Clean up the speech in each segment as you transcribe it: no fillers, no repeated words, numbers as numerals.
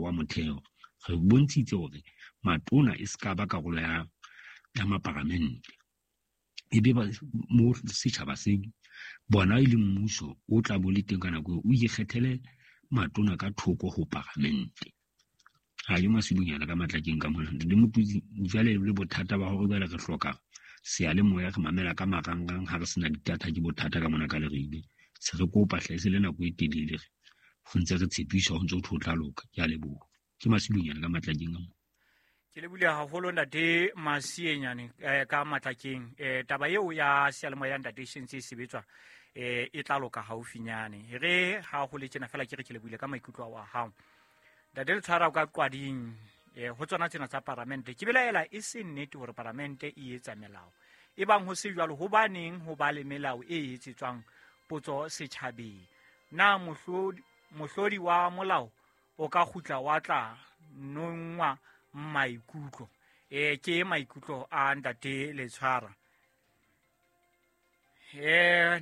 wa motheo. Re bontshitse hore matona e se ka ba karolo ya maparamente. E be mo setjhaba se bona e le mmuso o tla bo le teng ka nako eo, o ikgethele matona ka thoko ho paramente. Ha ke Masilonyana ka Matlakeng ka mona. Le Motutsi jwale le bothata ba hore jwale re hloka seyalemoya, re mamela ka marangrang ha re sena di-data, ke bothata ka mona ka Leribe. Se re kopa hle, se le nako e telele re ho ntse re tshepiswa, ho ntse ho thwe ho tla loka. Ke a leboha. Ke Masilonyana ka Matlakeng ka mona. Ke lebohile haholo ntate Masienyane ka Matlakeng. Taba eo ya seyalemoya ntate e sentse e sebetswa, e tla loka haufinyane. Re ha ho le tjena fela ke re ke lebohile ka maikutlo a hao. Ntate le tshwara ka qwading, ho tsona tsena tsa paramente. Ke belaela e se nnete hore paramente e etsa melao. E bang ho se jwalo, hobaneng ho ba le melao e etsetswang potso setjhabeng? Na mohlodi wa molao o ka kgutla wa tla nongwa maikutlo? Ke maikutlo a ntate Letshwara.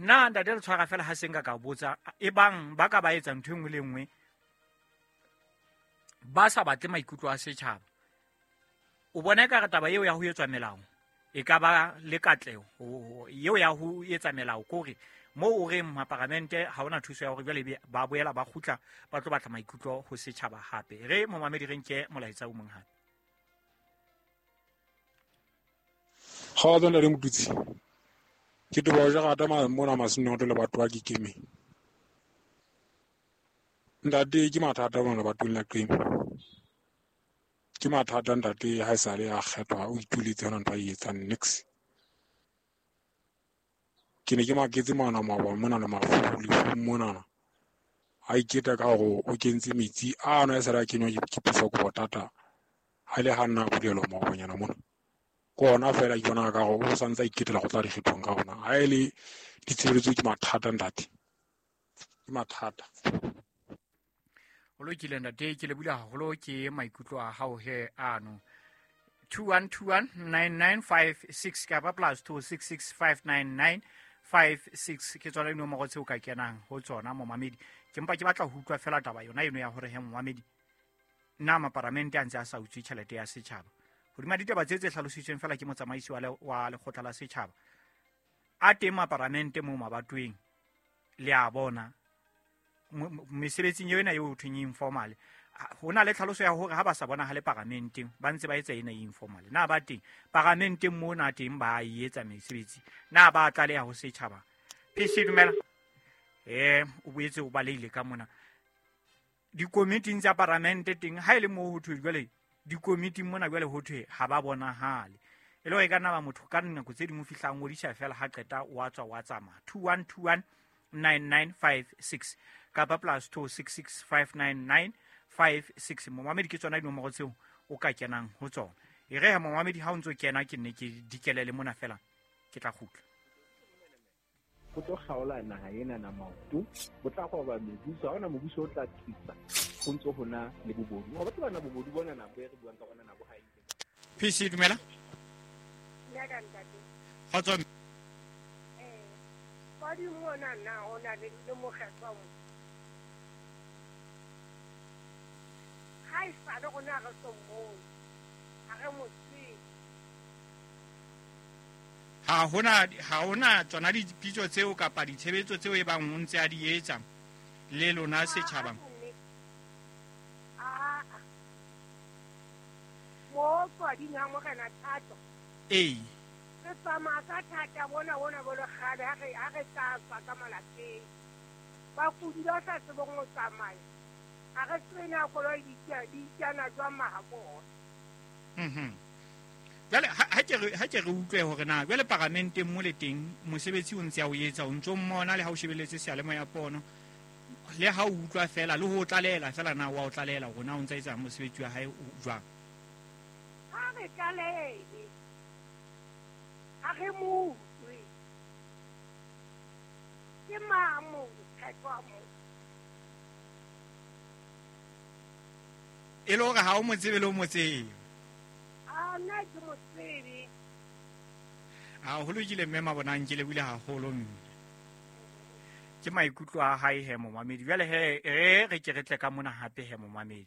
Na ntate Letshwara fela ha se nka ka botsa, e bang ba ka ba etsa ntho e nngwe le nngwe ba sa batle maikutlo a setjhaba, o bona ekare taba eo ya ho etswa melao e ka ba le katleho eo ya ho etsa melao, kore moo o reng maparamente ha hona thuso ya hore jwale ba boela ba kgutla ba tlo batla maikutlo ho setjhaba hape. Re momamedi re nke molaetsa o mong hape. Kgotso ntate Motutsi. Ke toba ho jara rata mona Masinoto le batho ba Kikeme. Ntate ke mathata mona lebatoweng la Qeme. Ke mathata ntate ha esale a kgethwa o ituletse hona ntho a e etsang nix. Ke ne ke maketse mona maobane mona le mafu lefung monana. A iketa ka hore o kentse metsi a no esale a kenywa ke puso ko botata. Ha ile ha nna bulelwa maobanyana mona. Ke ona fela ke bona ka hore o santse a iketela go tla dikgethong ka ona. Ha e le ditshebeletso ke mathata ntate. Ke mathata. Ho lokile ntate, ke lebohile haholo ke maikutlo a hao he ano. 21219956 kapa plus 26659956 ke tsona dinomoro tseo ka kenang ho tsona momamedi. Ke mpa ke batla ho utlwa fela taba yona eno ya hore he momamedi, na maparamente a ntse a sa utswe tjhelete ya setjhaba? Hodima ditaba tse tse hlalositsweng fela ke motsamaisi wa lekgotla la setjhaba, a teng maparamente moo mabatoweng, le a bona mesebetsing eo ena eo ho thweng e informal. Ho na le tlhaloso ya hore ha ba sa bonahale paramenteng, ba ntse ba etsa ena e informal. Na ba teng paramenteng mona teng ba e etsa mesebetsi? Na ba tlaleha ho setjhaba? PC dumela. O boetse o balehile ka mona. Dikomiting tsa paramente teng, ha e le moo ho thwe jwale dikomiting mona jwale ho thwe ha ba bonahale. E le hore e ka nna ba motho ka nako tse ding o fihla a ngodisa fela ha qeta wa tswa wa tsamaya. 21219956 kapa plus 26659956. Momamedi ke tsona dinomoro tseo o ka kenang ho tsona. E re ha momamedi ha o ntso kena ke nne ke dikelele mona fela ke tla kgutla. Ho tlo kgaola naha ena na maoto, bo tla roba mebuso, ha hona mobuso o tla tsitsa, ho ntso ho na le bobodu. Wa batho bana bobodu bona nako e re buang ka bona nako ha e ntse. PC dumela. Dumela ntate. Kgotso. Kwadi mona na o na le le mokgethwa mo. Ha e sale rona re so mmone. Ha re mo tsebe. Ha hona tsona dipitso tseo kapa ditshebetso tseo e bang o ntse a di etsa le lona setjhaba. Mo kwading ha Morena Thato. Ee. Re tsamaya ka thata bona bona bo le kgale ha re tla tswa ka malapeng. Bakudi ba sa tsebeng ho tsamaya. Ha re tsebe na koloi di itjana jwang mahabona. Jwale ha ke re utlwe hore na jwale paramenteng mo le teng mosebetsi o ntse a o etsa, o ntso mmona le ha o shebeletse seyalemoya pono, le ha o utlwa fela le ho tlalela fela na wa o tlalela hore na o ntse a etsa mosebetsi wa hae o jwang? Ha re tlalele, ha re mo utlwe. Ke mang mokgethwa mo? E le hore ha o mo tsebe le o mo tsebe. A nna ke mo tsebe. A ho lokile mme Mabonang, ke lebohile haholo mme. Ke maikutlo a hae he momamedi. Jwale he re ke re tle ka mona hape he momamedi.